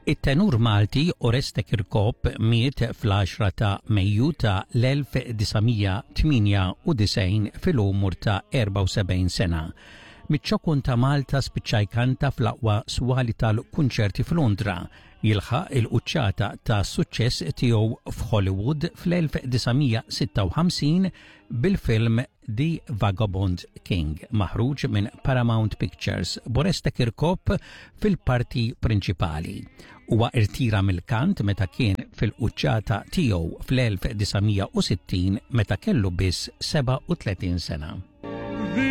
It-tenur Malti Oreste Kirkop miet fl-10 ta' Mejju ta' l-1998 fil-umur ta' 74 sena. Miċ-ċokon ta' Malta spiċċa jkanta fl-aqwa swali tal-kunċerti f'Londra, jilħaq il-quċċata ta' suċċess tiegħu f'Hollywood fl-1956 bil-film The Vagabond King, maħruġ minn Paramount Pictures, b'Oreste Kirkop fil-parti prinċipali. Huwa irtira mill-kant meta kien fil-quċċata tiegħu fl-1960 meta kellu biss 37 sena.